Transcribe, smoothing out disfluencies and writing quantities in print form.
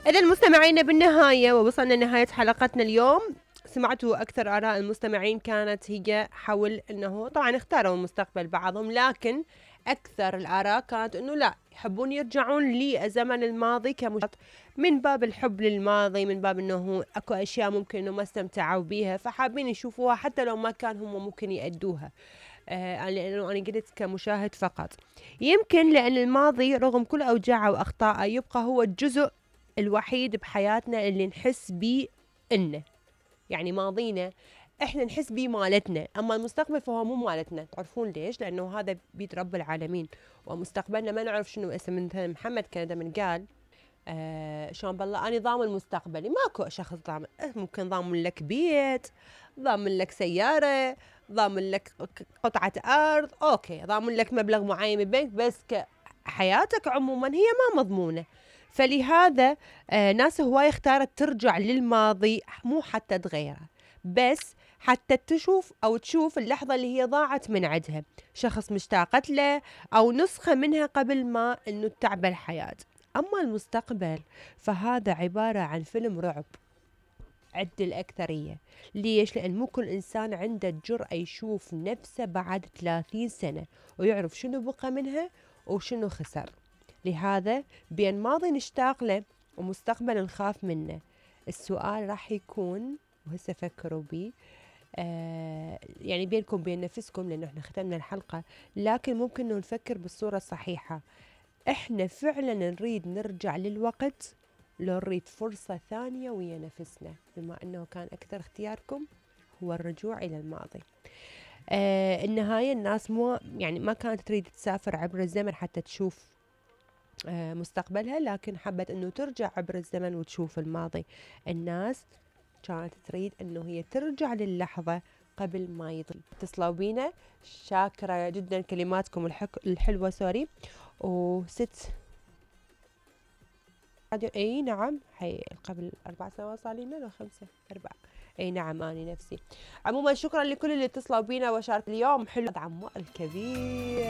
إذا المستمعين بالنهاية ووصلنا لنهاية حلقتنا اليوم، سمعتوا أكثر آراء المستمعين كانت هي حول أنه طبعا اختاروا المستقبل بعضهم، لكن أكثر الآراء كانت أنه لا، يحبون يرجعون لزمن الماضي من باب الحب للماضي، من باب أنه أكو أشياء ممكن أنه ما استمتعوا بيها فحابين يشوفوها حتى لو ما كان هم ممكن يأدوها. لأنه أنا قلت كمشاهد فقط، يمكن لأن الماضي رغم كل أوجاعه وأخطائه يبقى هو الجزء الوحيد بحياتنا اللي نحس بيه إنه يعني ماضينا إحنا نحس بيه مالتنا، أما المستقبل فهو مو مالتنا. تعرفون ليش؟ لأنه هذا بيد رب العالمين، ومستقبلنا ما نعرف شنو. اسم مثلا محمد كان من قال شلون بالله أنا ضامن مستقبلي، ماكو شخص ضامن. ممكن ضامن لك بيت، ضامن لك سيارة، ضامن لك قطعة أرض، أوكي، ضامن لك مبلغ معين بالبنك، بس حياتك عموما هي ما مضمونة. فلهذا ناس هواي اختارت ترجع للماضي، مو حتى تغيره، بس حتى تشوف اللحظة اللي هي ضاعت من عندها، شخص مشتاقت له أو نسخة منها قبل ما إنه تعبى الحياة. أما المستقبل فهذا عبارة عن فيلم رعب عند الأكثرية. ليش؟ لأن مو كل إنسان عنده الجرأة يشوف نفسه بعد 30 سنة ويعرف شنو بقى منها وشنو خسر. لهذا بين ماضي نشتاق له ومستقبل نخاف منه، السؤال راح يكون، وهسه فكروا بي، يعني بينكم بين نفسكم، لأنه احنا ختمنا الحلقة، لكن ممكن إنه نفكر بالصورة الصحيحة. احنا فعلا نريد نرجع للوقت لو نريد فرصة ثانية ويا نفسنا، بما أنه كان أكثر اختياركم هو الرجوع إلى الماضي. النهاية الناس ما كانت تريد تسافر عبر الزمن حتى تشوف مستقبلها، لكن حبت أنه ترجع عبر الزمن وتشوف الماضي. الناس كانت تريد أنه هي ترجع للحظة قبل ما يضل. اتصلوا بينا، شاكرة جدا كلماتكم الحلوة. سوري. وست اي نعم، قبل 4 سنوات صار لنا لو 5 4. اي نعم اني نفسي. عموما شكرا لكل اللي اتصلوا بينا وشارك اليوم. حلو عمار الكبير.